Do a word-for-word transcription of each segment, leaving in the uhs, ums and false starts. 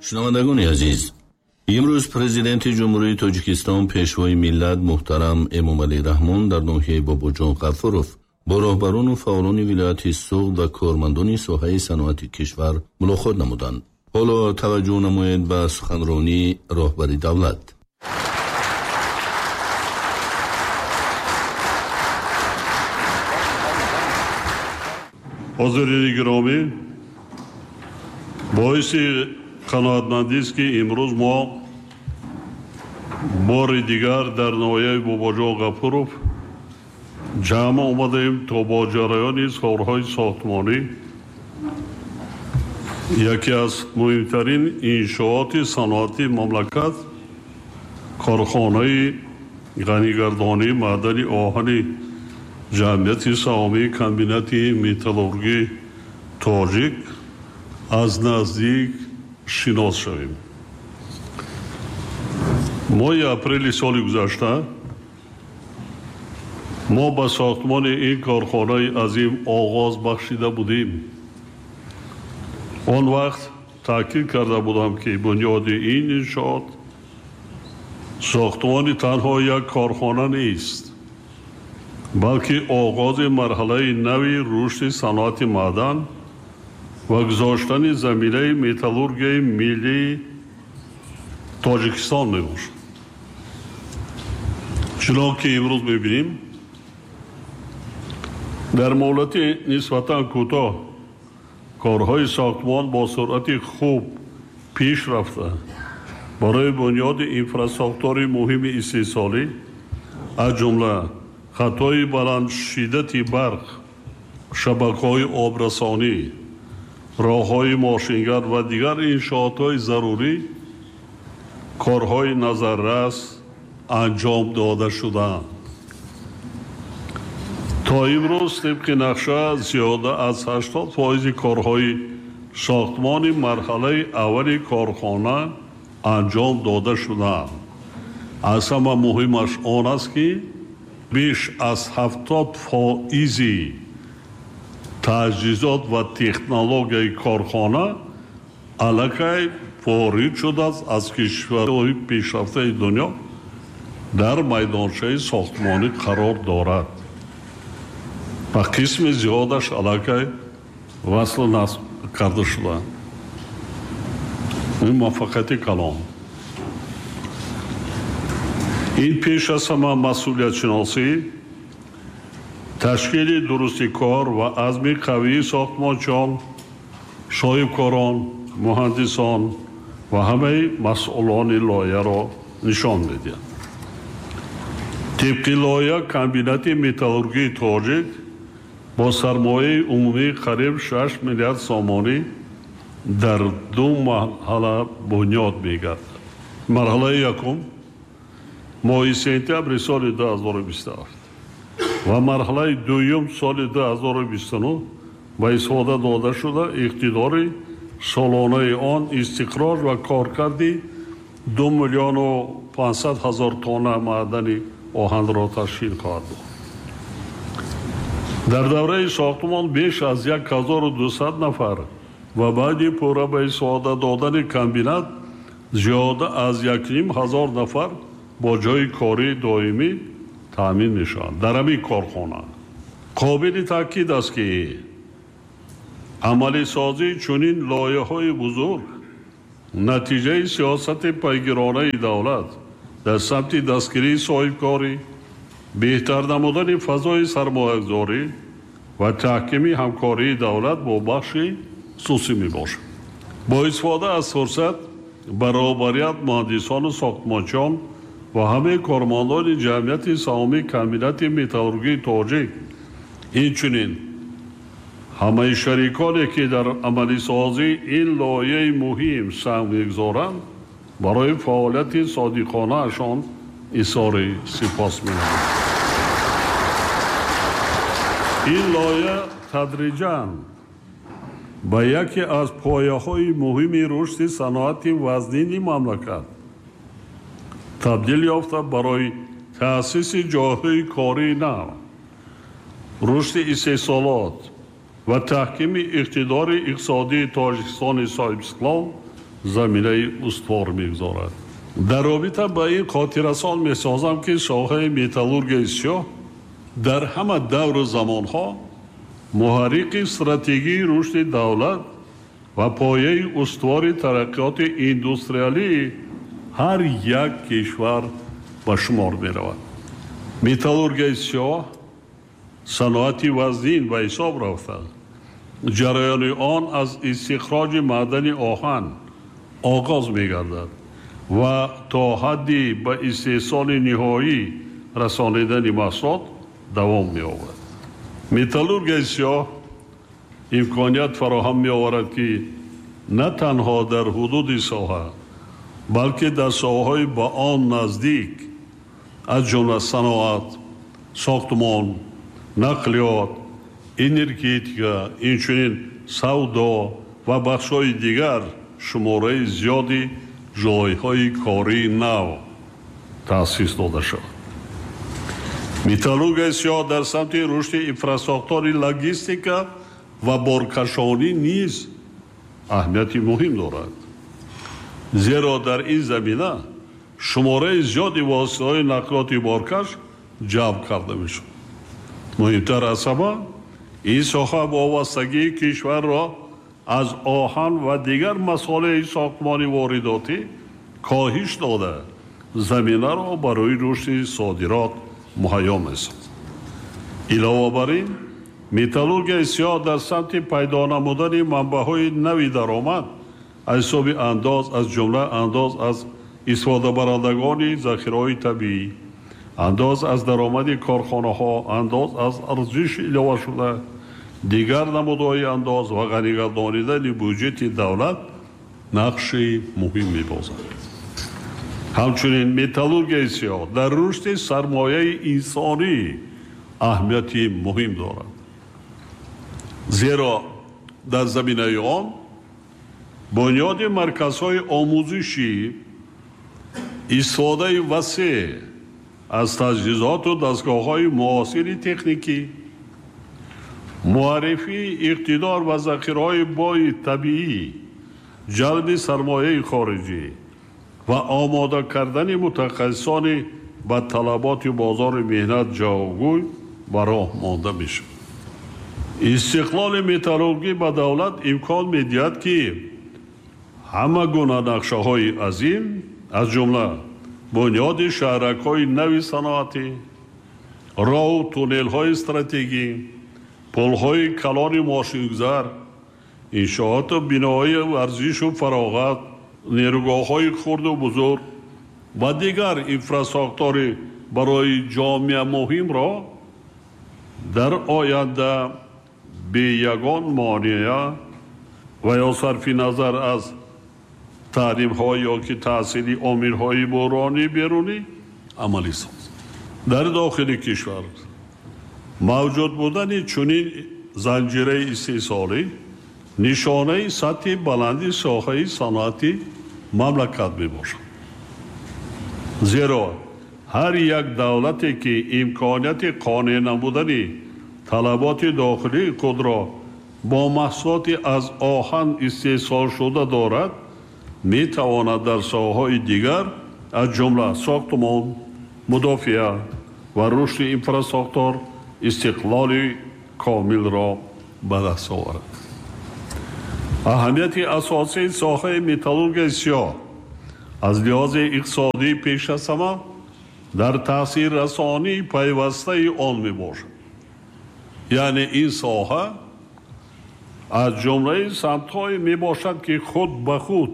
Шунавандагони азиз, имрӯз Президенти Ҷумҳурии Тоҷикистон, Пешвои миллат муҳтарам Эмомалӣ Раҳмон дар ноҳияи Бобоҷон Ғафуров бо роҳбарону фаъолони вилояти Суғд ва кормандони соҳаи саноати кишвар мулоқот намуданд. Ҳоло таваҷҷӯҳ намоед ба суханронии роҳбари давлат. Ҳозирини гиромӣ, боиси қаноатмандист, ки имрӯз мо бори дигар дар ноҳияи Бобоҷон Ғафуров ҷамъ омадаем, то бо ҷараёни корҳои сохтмонӣ яке аз муҳимтарин иншооти саноатии мамлакат, корхонаи ғанигардонии маъдани оҳани ҷамъияти саҳомии комбинати металлургии тоҷик аз наздик шинос шавем. Моҳи апрели соли гузашта мо ба сохтмони ин корхонаи азим оғоз бахшида будем. Он вақт таъкид карда будам, ки бунёди ин иншоот сохтмони танҳо як корхона нест, балки оғози марҳалаи нави рушди саноати маъдан ва гузоштани заминаи металлургияи миллии Тоҷикистон мебошад. Чунон ки имрӯз мебинем, дар муҳлати нисбатан кӯтоҳ корҳои сохтмон бо суръати хуб пеш рафта, барои бунёди инфрасохтори муҳими истеҳсолӣ, аз ҷумла хатҳои баландшиддати барқ, шабакаҳои обрасонӣ, роҳҳои мошингард ва дигар иншоотҳои зарурӣ корҳои назаррас анҷом дода шудаанд. То имрӯз тибқи нақша зиёда аз ҳаштод фоизи корҳои сохтмони марҳалаи аввали корхона анҷом дода шудаанд. Аз ҳама муҳимаш он аст, ки беш аз ҳафтод фоизи таҷҳизот ва технологияи корхона аллакай ворид шудааст аз кишварҳои пешрафтаи дунё, дар майдончаи сохтмонӣ қарор дорад ва қисми зиёдаш аллакай васлу насб карда шудаанд. Ин муваффақияти калон. Ин пеш аз ҳама масъулиятшиносӣ, ташкили дурусти кор ва азми қавии сохтмончиён, соҳибкорон, муҳандисон ва ҳамаи масъулони лоиҳаро нишон медиҳад. Тибқи лоиҳа комбинати металлургии тоҷик бо сармояи умумии қариб шаш миллиард сомонӣ дар ду марҳала бунёд мегардад. Марҳалаи якум моҳи сентябри соли ду ҳазору бисту ҳафт ва марҳалаи дуюм соли ду ҳазору бисту нӯҳ ба истифода дода шуда, иқтидори солонаи он истиқроҷ ва коркарди ду миллиону панҷсад ҳазор тонна маъдани оҳанро ташкил хоҳад дод. Дар давраи сохтмон беш аз як ҳазору дусад нафар ва баъди пурра ба истифода додани комбинат зиёда аз якним ҳазор нафар бо ҷойи кории доимӣ таъмин мешаванд дар ҳамин корхона. Қобили таъкид аст, ки амалисозии чунин лоиҳаҳои бузург натиҷаи сиёсати пайгиронаи давлат дар самти дастгирии соҳибкорӣ, беҳтар намудани фазои сармоягузорӣ ва таҳкими ҳамкории давлат бо бахши хусусӣ мебошад. Бо истифода аз фурсат баробарият муҳандисону сохтмончиён ва ҳамаи кормандони ҷамъияти саҳомии комбинати металлургии тоҷик, инчунин ҳамаи шариконе, ки дар амалисозии ин лоиҳаи муҳим саҳм мегузоранд, барои фаъолияти содиқонаашон изҳори сипос менамоям. Ин лоиҳа тадриҷан ба яке аз пояҳои муҳими рушди саноати вазнини мамлакат табдил ёфта, барои таъсиси ҷойҳои кории нав, рушди истеҳсолот ва таҳкими иқтидори иқтисодии Тоҷикистони соҳибистиқлол заминаи устувор мегузорад. Дар робита ба ин хотиррасон месозам, ки соҳаи металлургияи сиёҳ дар ҳама давру замонҳо муҳаррики стратегии рушди давлат ва пояи устувори тараққиёти индустриалии ҳар як кишвар ба шумор меравад. Металлургияи сиёҳ саноати вазнин ба ҳисоб рафта, ҷараёни он аз истихроҷи маъдани оҳан оғоз мегардад ва то ҳадди ба истеҳсоли ниҳоӣ расонидани маҳсулот давом меёбад. Металлургияи сиёҳ имконият фароҳам меоварад, ки на танҳо дар ҳудуди соҳа, балки дар соҳаҳои ба он наздик, аз ҷумла саноат, сохтмон, нақлиёт, энергетика, инчунин савдо ва бахшҳои дигар шумораи зиёди ҷойҳои кории нав таъсис дода шавад. Металлургияи сиёҳ дар самти рушди инфрасохтори логистика ва боркашонӣ низ аҳамияти муҳим дорад, зеро дар ин замина шумораи зиёди воситаҳои нақлиёти боркаш ҷалб карда мешавад. Муҳимтар аз ҳама, ин соҳа вобастагии кишварро аз оҳан ва дигар масолеҳи сохтмони воридотӣ коҳиш дода, заминаро барои рушди содирот муҳайё месозад. Илова бар ин, металлургияи сиёҳ дар самти пайдо намудани манбаъҳои нави даромад аз ҳисоби андоз, аз ҷумла андоз аз истифодабарандагони захираҳои табиӣ, андоз аз даромади корхонаҳо, андоз аз арзиши иловашуда, дигар намудҳои андоз ва ғанигардонидани буҷети давлат нақши муҳим мебозад. Ҳамчунин металлургияи сиёҳ дар рушди сармояи инсонӣ аҳамияти муҳим дорад, зеро дар заминаи он бунёди марказҳои омӯзишӣ, истифодаи васеъ аз таҷҳизоту дастгоҳҳои муосири техникӣ, муаррифии иқтидор ва захираҳои бои табиӣ, ҷалби сармояи хориҷӣ ва омода кардани мутахассисони ба талаботи бозори меҳнат ҷавобгӯй ба роҳ монда мешавад. Истиқлоли металлургӣ ба давлат имкон медиҳад, ки ҳама гуна нақшаҳои азим, аз ҷумла бунёди шаҳракҳои нави саноатӣ, роҳу туннелҳои стратегӣ, пулҳои калони мошингузар, иншооту биноҳои варзишу фароғат, нерӯгоҳҳои хурду бузург ва дигар инфрасохтори барои ҷомеа муҳимро дар оянда бе ягон монеа ва ё сарфи назар аз таҳримҳо ё ки таъсири омилҳои буҳронии берунӣ амалӣ созад. Дар дохили кишвар мавҷуд будани чунин занҷираи истеҳсолӣ нишонаи сатҳи баланди соҳаи саноати мамлакат мебошад, зеро ҳар як давлате ки имконияти қонеъ намудани талаботи дохилии худро бо маҳсулоти аз оҳан истеҳсолшуда дорад, метавонад дар соҳаҳои дигар, аз ҷумла сохтмон, мудофиа ва рушди инфрасохтор истиқлоли комилро ба даст оварад. Аҳамияти асосии соҳаи металлургияи сиёҳ аз лиҳози иқтисодӣ пеш аз ҳама дар таъсиррасонии пайвастаи он мебошад. Яъне ин соҳа аз ҷумлаи самтҳое мебошад, ки худ ба худ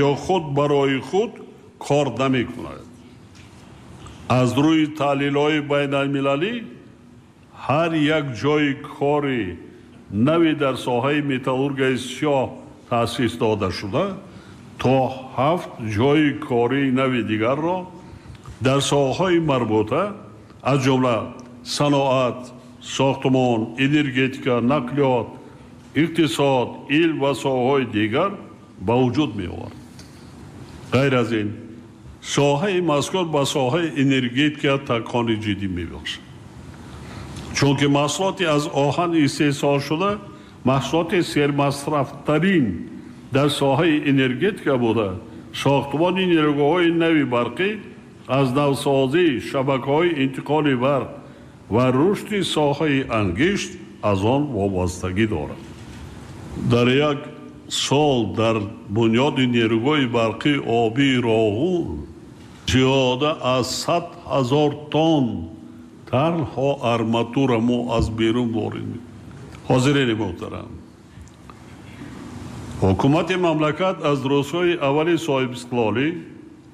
ё худ барои худ кор намекунад. Аз рӯи таҳлилҳои байналмилалӣ ҳар як ҷойи кори нави дар соҳаи металлургияи сиёҳ таъсис дода шуда то ҳафт ҷойи кории нави дигарро дар соҳаҳои марбута, аз ҷумла саноат, сохтмон, энергетика, нақлиёт, иқтисод, илм ва соҳаҳои дигар ба вуҷуд меовард. Ғайр аз ин, соҳаи мазкур ба соҳаи энергетика такони ҷиддӣ мебахшад, чунки маҳсулоти аз оҳан истеҳсолшуда маҳсулоти сермасрафтарин дар соҳаи энергетика буда, сохтмони нерӯгоҳҳои нави барқӣ, аз навсозии шабакаҳои интиқоли барқ ва рушди соҳаи ангишт аз он вобастагӣ дорад. Дар як сол дар бунёди нерӯгоҳи барқии обии Роғун зиёда аз сад ҳазор тонн танҳо арматура мо аз берун ворид мекунем. Ҳозирини муҳтарам, ҳукумати мамлакат аз рӯзҳои аввали соҳибистиқлолӣ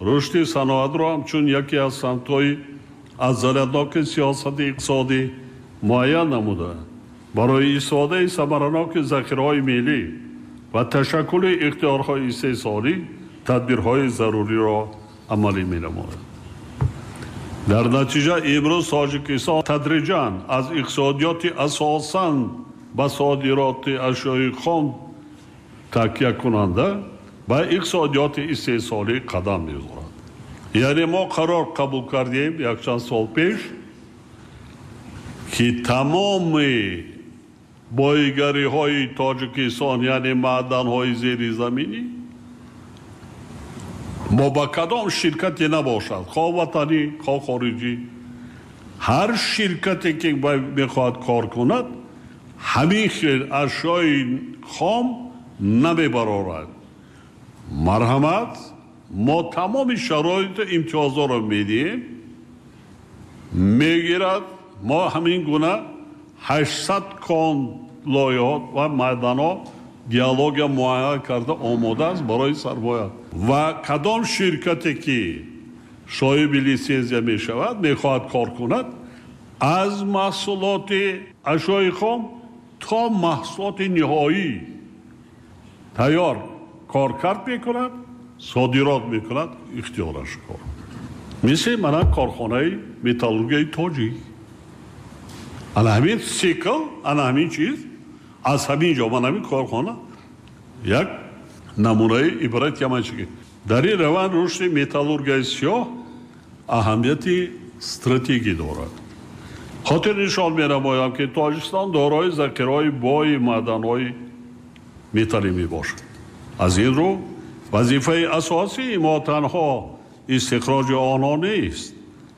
рушди саноатро ҳамчун яке аз самтҳои афзалиятноки сиёсати иқтисодӣ муайян намуда, барои истифодаи самараноки захираҳои миллӣ ва ташаккули ихтиёрҳои истеҳсолӣ тадбирҳои заруриро амалӣ менамояд. Дар натиҷа имрӯз Тоҷикистон тадриҷан аз иқтисодиёти асосан ба содироти ашёи хом такякунанда ба иқтисодиёти истеҳсолӣ қадам мегузорад. Яъне мо қарор қабул кардем якчанд сол пеш, ки тамоми боигариҳои Тоҷикистон, яъне маъданҳои зеризаминӣ, мо ба кадом ширкате набошад, хоҳ ватанӣ, хоҳ хориҷӣ, ҳар ширкате ки мехоҳад кор кунад, ҳамин хел ашёи хом намебарорад. Марҳамат, мо тамоми шароиту имтиёзҳоро медиҳем, мегирад. Мо ҳамин гуна ҳаштсад кон лоиҳот ва маъданҳо геология муайян карда омода аст барои сармоя. Ва кадом ширкате ки соҳиби литсензия мешавад, мехоҳад кор кунад, аз маҳсулоти ашёи хом то маҳсулоти ниҳоӣ тайёр коркард мекунад, содирот мекунад, ихтиёраш кор. Мисли мана корхонаи металлургияи тоҷик. Ана ҳамин сикл, ана ҳамин чиз, аз ҳамин ҷо ман ҳамин корхона як намунаи ибрат яманчиги. Дар ин раванд рушди металлургияи сиёҳ аҳамияти стратегӣ дорад. Хотир нишон менамоям, ки Тоҷикистон дорои захираҳои бои маъданҳои металлӣ мебошад. Аз ин рӯ вазифаи асосии мо танҳо истихроҷи онҳо нест,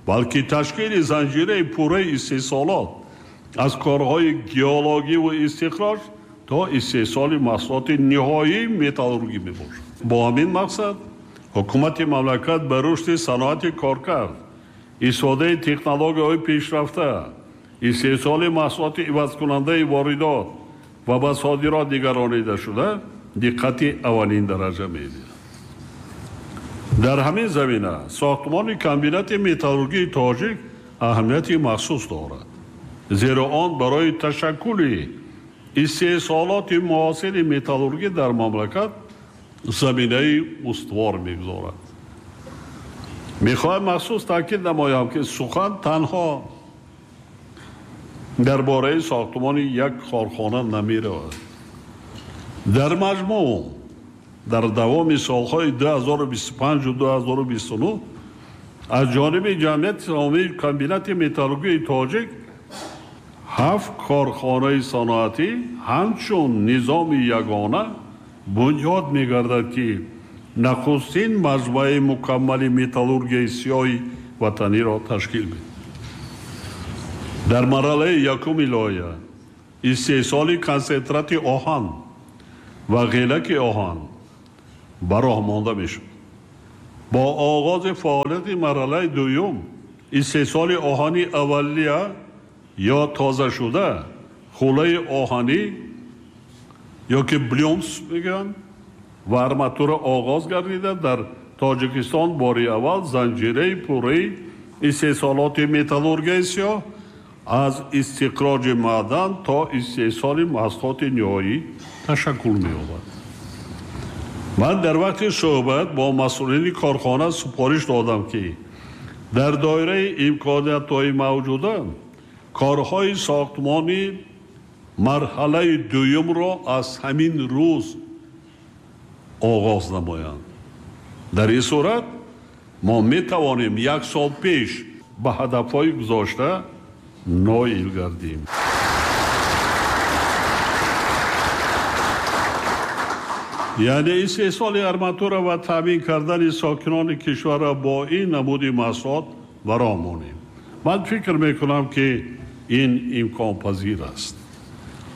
балки ташкили занҷираи пурраи истеҳсолот аз корҳои геологӣ ва истихроҷ то истеҳсоли маҳсулоти ниҳоии металлургӣ мебошад. Бо ҳамин мақсад ҳукумати мамлакат ба рушди саноати коркард, истифодаи технологияҳои пешрафта, истеҳсоли маҳсулоти ивазкунандаи воридот ва ба содирот нигаронида шуда диққати аввалин дараҷа медиҳад. Дар ҳамин замина сохтмони комбинати металлургии тоҷик аҳамияти махсус дорад, зеро он барои ташаккули истеҳсолоти муосири металлургӣ дар мамлакат заминаи устувор мегузорад. Мехоҳам махсус таъкид намоям, ки сухан танҳо дар бораи сохтмони як корхона намеравад. Дар маҷмӯъ дар давоми солҳои ду ҳазору бисту панҷ ду ҳазору бисту нӯҳ аз ҷониби ҷамъияти саҳомии комбинати металлургии тоҷик ҳафт корхонаи саноатӣ ҳамчун низоми ягона бунёд мегардад, ки нахустин маҷмӯаи мукаммали металлургияи сиёҳи ватаниро ташкил медиҳад. Дар марҳалаи якуми лоиҳа истеҳсоли консентрати оҳан ва ғелаки оҳан ба роҳ монда мешавад. Бо оғози фаъолияти марҳалаи дуюм истеҳсоли оҳани аввалия ё тозашуда, хӯлаи оҳанӣ ё ки блюмс мегӯянд ва арматура оғоз гардида, дар Тоҷикистон бори аввал занҷираи пурраи истеҳсолоти металлургияи сиёҳ аз истиқроҷи маъдан то истеҳсоли маҳсулоти ниҳоӣ ташаккул меёбад. Ман дар вақти суҳбат бо масъулини корхона супориш додам, ки дар доираи имкониятҳои мавҷуда корҳои сохтмони марҳалаи дуюмро аз ҳамин рӯз оғоз намоянд. Дар ин сурат мо метавонем як сол пеш ба ҳадафҳои гузошта ноил гардем. Яъне истеҳсоли арматура ва таъмин кардани сокинони кишварро бо ин намуди маҳсулот бароҳ монем. Ман фикр мекунам, ки ин имконпазир аст.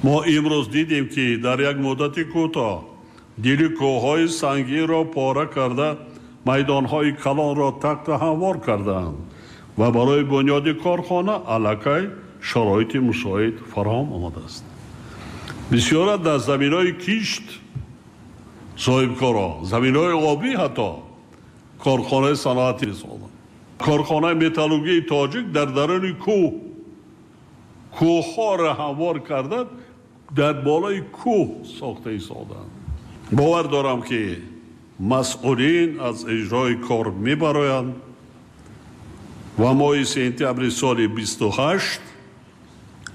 Мо имрӯз дидем, ки дар як муддати кӯтоҳ дили кӯҳҳои сангинро пора карда, майдонҳои калонро тахта ҳамвор кардаанд ва барои бунёди корхона аллакай шароити мусоид фароҳам омадааст. Бисёра дар заминҳои кишт соҳибкоро, заминҳои обӣ ҳатто корхонаи саноатӣ сохтанд. Корхонаи металлургии тоҷик дар даруни кӯҳ кӯҳҳоро ҳамвор карда, дар болои кӯҳ сохта истоданд. Бовар дорам, ки масъулин аз иҷрои кор мебароянд ва моҳи сентябри соли бисту ҳашт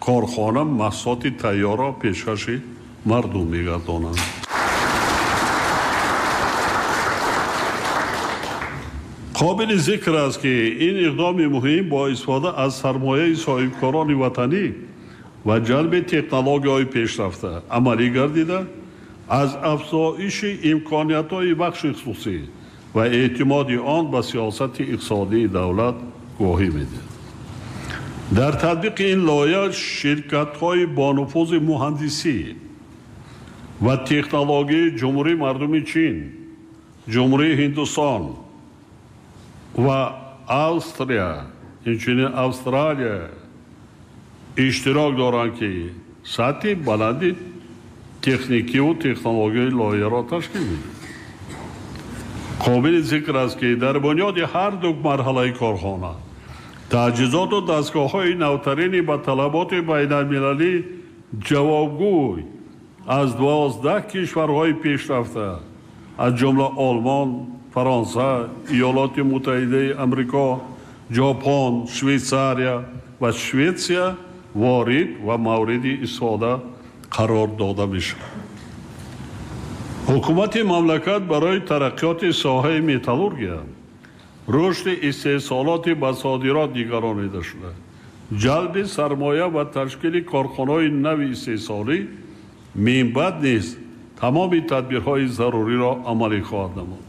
корхона маҳсулоти тайёрро пешкаши мардум мегардонанд. Қобили зикр аст, ки ин иқдоми муҳим бо истифода аз сармояи соҳибкорони ватанӣ ва ҷалби технологияҳои пешрафта амалӣ гардида, аз афзоиши имкониятҳои бахши хусусӣ ва эътимоди он ба сиёсати иқтисодии давлат гувоҳӣ медиҳад. Дар татбиқи ин лоиҳа ширкатҳои бонуфузи муҳандисӣ ва технологияи Ҷумҳурии Мардуми Чин, Ҷумҳурии Ҳиндустон ва Австрия, инчунин Австралия иштирок доранд, ки сатҳи баланди техникиву технологияи лоиҳаро ташкил медиҳад. Қобили зикр аст, ки дар бунёди ҳар ду марҳалаи корхона таҷҳизоту дастгоҳҳои навтарини ба талаботи байналмилалӣ ҷавобгӯй аз дувоздаҳ кишварҳои пешрафта, аз ҷумла Олмон, Фаронса, Иёлоти Муттаҳидаи Амрико, Ҷопон, Швейтсария ва Шветсия ворид ва мавриди истифода қарор дода мешавад. Ҳукумати мамлакат барои тараққиёти соҳаи металлургия, рушди истеҳсолоти ба содирот нигаронида шуда, ҷалби сармоя ва ташкили корхонаҳои нави истеҳсолӣ минбаъд низ тамоми тадбирҳои заруриро амалӣ хоҳад намуд.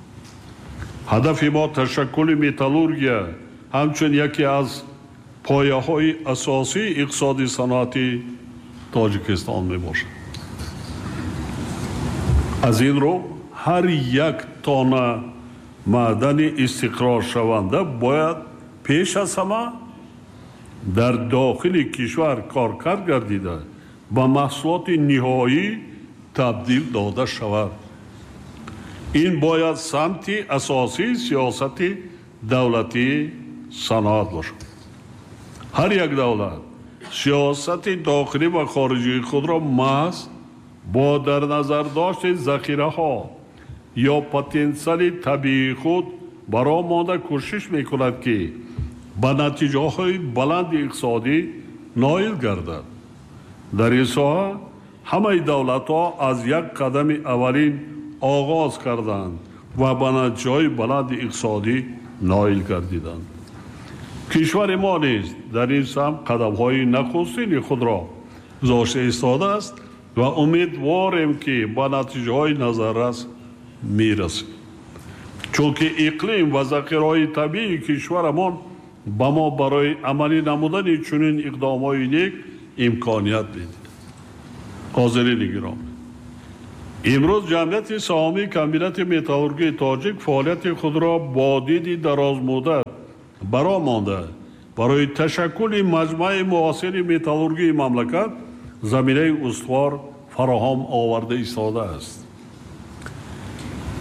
Ҳадафи мо ташаккули металлургия ҳамчун яке аз пояҳои асосии иқтисоди саноатии Тоҷикистон мебошад. Аз ин рӯ ҳар як тонна маъдани истиқроршаванда бояд пеш аз ҳама дар дохили кишвар коркард гардида, ба маҳсулоти ниҳоӣ табдил дода шавад. Ин бояд самти асосии сиёсати давлатии саноат бошад. Ҳар як давлат сиёсати дохилӣ ва хориҷии худро маҳз бо дар назар дошти захираҳо ё потенсиали табиии худ бароҳ монда кӯшиш мекунад, ки ба натиҷаҳои баланди иқтисодӣ ноил гардад. Дар ин соҳа ҳамаи давлатҳо аз як қадами аввалин оғоз карданд ва ба натиҷаҳои баланди иқтисодӣ ноил гардиданд. Кишвари мо низ дар ин самт қадамҳои нахустини худро гузошта истодааст ва умедворем, ки ба натиҷаҳои назаррас мерасем. Чунки иқлим ва захираҳои табиии кишварамон ба мо барои амалӣ намудани чунин иқдомҳои нек имконият медиҳад. Ҳозирини гиромӣ, имрӯз ҷамъияти саҳомии комбинати металлургии тоҷик фаъолияти худро бо диди дарозмуддат бароҳ монда, барои ташаккули маҷмӯаи муосири металлургии мамлакат заминаи устувор фароҳам оварда истодааст.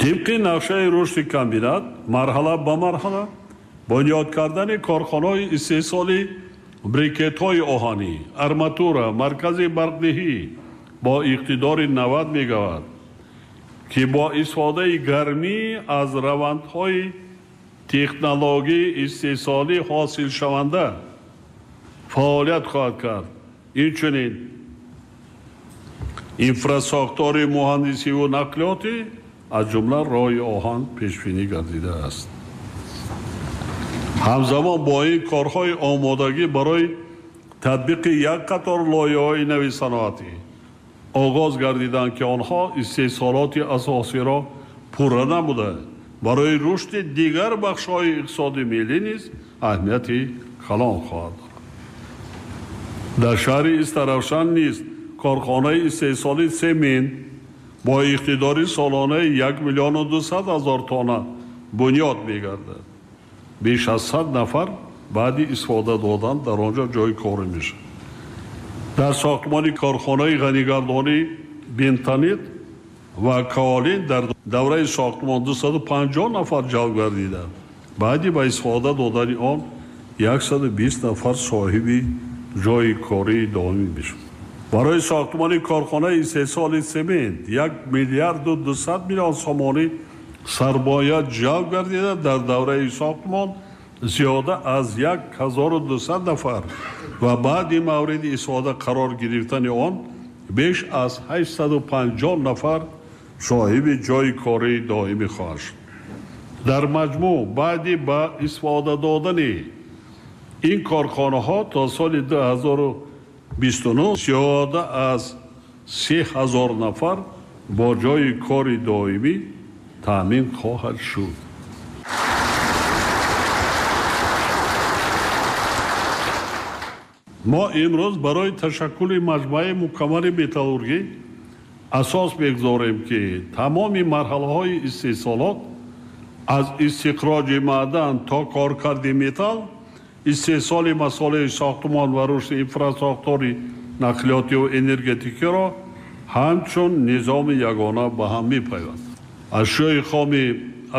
Тибқи нақшаи рушди комбинат марҳала ба марҳала бунёд кардани корхонаҳои истеҳсоли брикетҳои оҳанӣ, арматура, маркази барқдиҳӣ бо иқтидори навад мегаватт, ки бо истифодаи гармӣ аз равандҳои технологияи истеҳсолӣ ҳосилшаванда фаъолият хоҳад кард. Инчунин инфрасохтори муҳандисиву нақлиётӣ аз ҷумла роҳи оҳан пешбинӣ гардидааст. Ҳамзамон бо ин корҳои омодагӣ барои татбиқи як қатор лоиҳаҳои нави саноатӣ Оғоз гардиданд, ки онҳо истеҳсолоти асосиро пурра намуда, барои рушди дигар бахшҳои иқтисоди миллӣ низ аҳамияти калон хоҳад дорад. Дар шаҳри Истаравшан низ корхонаи истеҳсоли семент бо иқтидори солонаи як миллиону дусад ҳазор тонна бунёд мегардад. Беш аз сад нафар баъди истифода додан дар он ҷо ҷойи корӣ мешавад. Дар сохтмони корхонаи ғанигардонии бентонит ва каолин дар давраи сохтмон дусаду панҷоҳ нафар ҷалб гардиданд. Баъди ба истифода додани он яксаду бист нафар соҳиби ҷойи кории доимӣ мешавад. Барои сохтмони корхонаи истеҳсоли семент як миллиарду дусад миллион сомонӣ сармоя ҷалб гардида, дар давраи сохтмон зиёда аз як ҳазору дусад нафар ва баъди мавриди истифода қарор гирифтани он беш аз ҳаштсаду панҷоҳ нафар соҳиби ҷойи кории доимӣ хоҳад шуд. Дар маҷмӯъ баъди ба истифода додани ин корхонаҳо то соли ду ҳазору бисту нӯҳ зиёда аз се ҳазор нафар бо ҷойи кори доимӣ таъмин хоҳад шуд. Мо имрӯз барои ташаккули маҷмӯаи мукаммали металлургӣ асос мегузорем, ки тамоми марҳалаҳои истеҳсолот аз истихроҷи маъдан то коркарди металл, истеҳсоли масолеҳи сохтмон ва рушди инфрасохтори нақлиётиву энергетикиро ҳамчун низоми ягона ба ҳам мепайванд. Ашёи хоми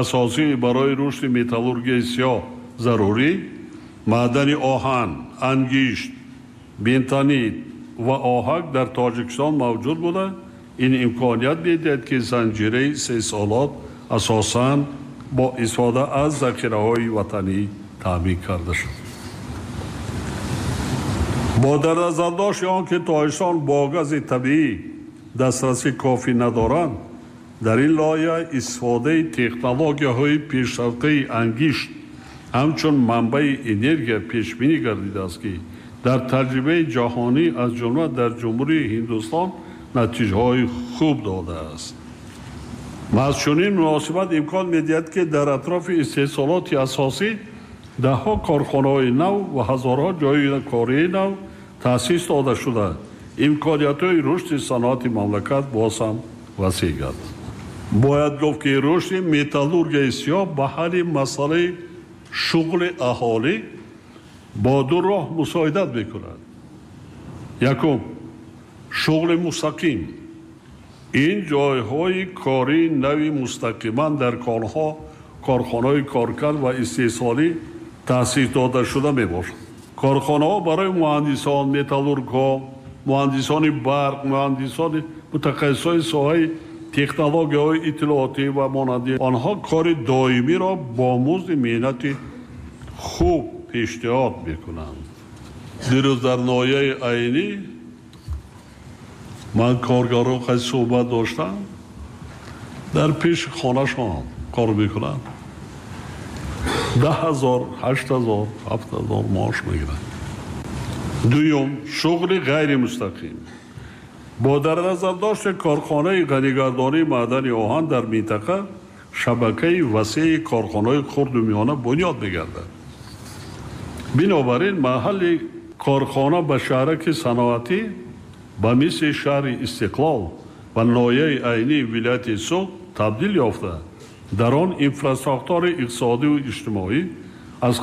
асосӣ барои рушди металлургияи сиёҳ зарурӣ маъдани оҳан, ангишт, бентонит ва оҳак дар Тоҷикистон мавҷуд буда, ин имконият медиҳад, ки занҷираи истеҳсолот асосан бо истифода аз захираҳои ватанӣ таъмин карда шуд. Бо дар назардошти он ки Тоҷикистон бо гази табиӣ дастрасӣ кофӣ надоранд, дар ин лоиҳа истифодаи технологияҳои пешрафтаи ангишт ҳамчун манбаи энергия пешбинӣ гардидааст, ки дар таҷрибаи ҷаҳонӣ аз ҷумла дар Ҷумҳурии Ҳиндустон натиҷаҳои хуб додааст. Маҳз чунин муносибат имкон медиҳад, ки дар атрофи истеҳсолоти асосӣ даҳҳо корхонаҳои нав ва ҳазорҳо ҷойи кории нав таъсис дода шуда, имкониятҳои рушди саноати мамлакат боз ҳам васеъ гардад. Бояд гуфт, ки рушди металлургияи сиёҳ ба ҳалли масъалаи шуғли аҳолӣ бо ду роҳ мусоидат мекунад. Якум, шуғли мустақим. Ин ҷойҳои кории нави мустақиман дар конҳо, корхонаҳои коркард ва истеҳсолӣ таъсис дода шуда мебошад. Корхонаҳо барои муҳандисон, металлургҳо, муҳандисони барқ, муҳандисони мутахассисони соҳаи технологияҳои иттилоотӣ ва монанди онҳо кори доимиро бо музди меҳнати хуб пешниҳод мекунанд. Дирӯз дар ноҳияи Айнӣ ман коргарон қайд суҳбат доштам, дар пеши хонашон кор мекунанд, даҳ ҳазор, ҳашт ҳазор, ҳафт ҳазор маош мегиранд. Дуюм, шуғли ғайримустақим. Бо дар назардошти корхонаи ғанигардонии маъдани оҳан дар минтақа шабакаи васеи корхонаҳои хурду миёна бунёд мегардад. Бинобар ин маҳалли корхона ба шаҳраки саноатӣ ба мисли шаҳри Истиқлол ва ноҳияи Айнии вилояти Суғд табдил ёфта, дар он инфрасохтори иқтисодиву иҷтимоӣ